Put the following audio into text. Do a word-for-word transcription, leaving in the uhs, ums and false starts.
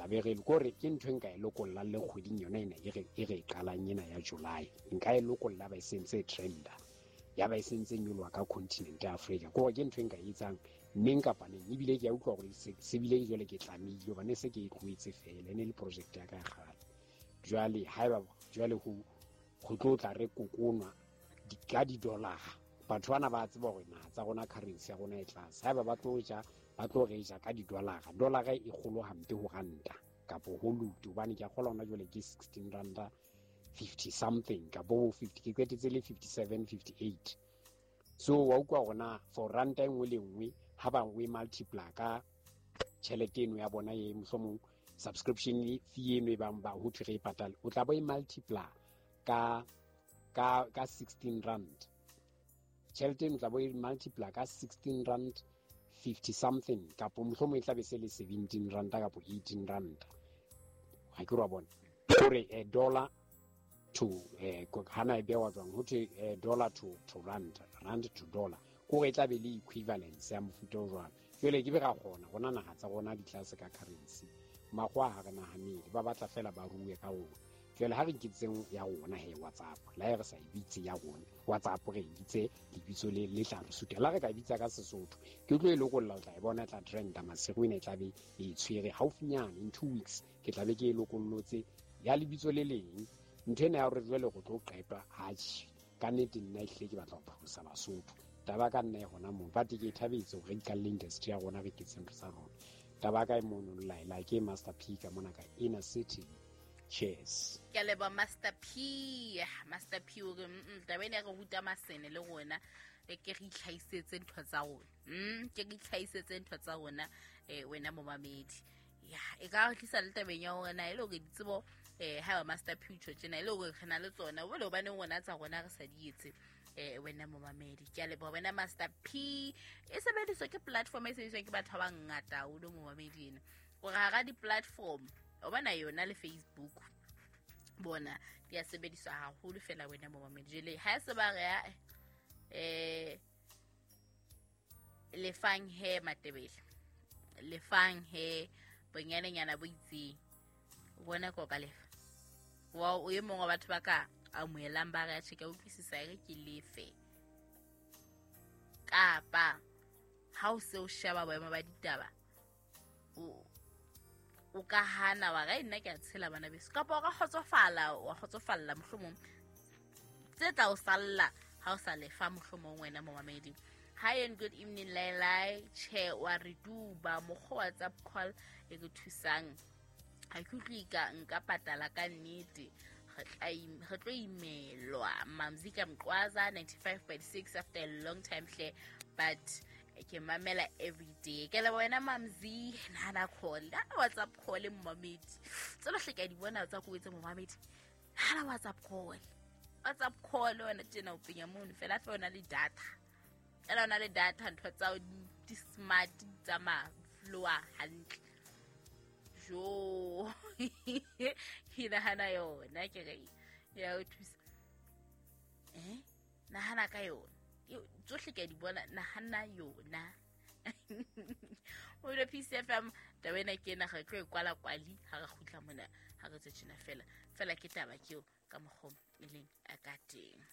tla be re kore ke ntho e nka e lokollang le kgweding yona ena e re e re qalang ena ya July. Nka e lokolla ba e sentse e trenda ya ba e sentse nyoloha ka continent ya Africa. Kore ke ntho e nka e etsang neng kapa neng, ebile ke a utlwa hore se se bile jwale ke tlamehile hobane se ke e tlohetse fela, e ne le project ya ka ya kgale. Jwale haeba jwale ho ho tlo tla re kokonwa di ka di-dollar, batho bana ba tseba hore naha tsa rona currency ya rona e tlase. Haeba ba tlo ja, ba tlo re ja ka di-dollar, dollar e kgolo hampe ho ranta kapo ho lutu, hobane ke a kgolwa hona jwale ke sixteen ranta fifty something kapo fifty, ke qetetse le fifty-seven, fifty-eight. So wa utlwa hore na for ranta e nngwe le nngwe ha ba o e multiply ka tjhelete eno ya bona e mohlomong subscription fee eno e bang ba ho thwe re e patale, o tla bo e multiply ka ka ka sixteen rand. Tjhelete eno o tla bo e multiply ka sixteen rand fifty something kapo mohlomong e tla be se le seventeen rand kapo eighteen rand. Ha ke re wa bona hore eh, dollar to eh hana e bewa jwang ho thwe eh, dollar to to rand, rand to dollar, kore e tla be le equivalence ya mofuta o jwalo. Jwale ke be ra kgona rona naha tsa rona di tlase ka currency, makgowa ha re nahanele, ba batla fela ba rue ka rona. Jwale ha re nketseng ya rona he WhatsApp, la e re sa e bitse ya rona WhatsApp, re e bitse lebitso le le tla re sutela. La re ka e bitsa ka Sesotho, ke tlo e lokolla, o tla e bona e tla trenda masiu ena e tla be e tshwere haufinyane in two weeks ke tla be ke e lokollotse ya lebitso le leng. Ntho ena ya hore jwale go tlo qetwa, atjhe, ka nnete nna ehlile ke batla ho pholosa Basotho. Taba ka nna e hona moo, but ke thabetse hore re ikalle industry ya rona, re iketse ntho tsa rona. Taba ka e mono Laila ke Master P ka mona ka Inner City. Cheers. Ke a leboha Master P. Master P o re, mm, taba ena e re ruta masene le rona, e ke re itlhaisetse ntho tsa rona. Mm, ke re itlhaisetse ntho tsa rona, eh, wena momamedi. Ya, e ka re tlisa le tabeng ya hore na e le hore ditsebo, eh, haeba Master P o tjho tjena, e le hore re na le tsona, jwale hobaneng rona tsa rona re sa di etse, eh, wena momamedi. Ke a leboha wena Master P. E sebediswa ke platform e sebediswang ke batho ba bangata haholo momamedi ena. Hore hara di-platform, o bona yona le Facebook, bona di a sebediswa haholo fela wena momamedi. Jwale ha se ba re ya, eh, lefang he Matebele, lefang he bonyanenyana bo itseng, o bona ko ka lefa. Wa o e mong wa batho ba ka amohelang ba re, atjhe, ke a utlwisisa, e re ke lefe. Kapa ha o se o sheba boemo ba ditaba, o, o ka hana wa re, nna ke a tshela bana beso, kapa o ka kgotsofala, wa kgotsofalla mohlomong tse tla o salla ha o sa lefa mohlomong wena momamedi. Hi and good evening Laila. Che wa re duba mokgwa wa WhatsApp call e re thusang. Ha ke utlwe ka nka patala ka nnete. Re tla im-, re tlo imelwa. Mamzika Mqwaza ninety-five point six after a long time hle, but ke mamela every day. Ke leboha wena Mamzi, nahana call, nahana WhatsApp call momamedi. Tselo hle ke a di bona tsa ko etse momamedi. Nahana WhatsApp call. WhatsApp call wena tjena o penya mono fela fa o na le data. Fela o na le data ntho tsa o di smart di tsamaya flow hantle. Jo. Ke nahana yona ke re ya o thusa. Eh? Nahana ka yona. Tsohle ke a di bona, nahana yona. O le P C F M, taba ena ke ena, re tlo e kwala kwali ha re kgutla mona, ha re tswe tjena fela. Fela ke taba ke eo ka mokgwa o e leng a ka teng.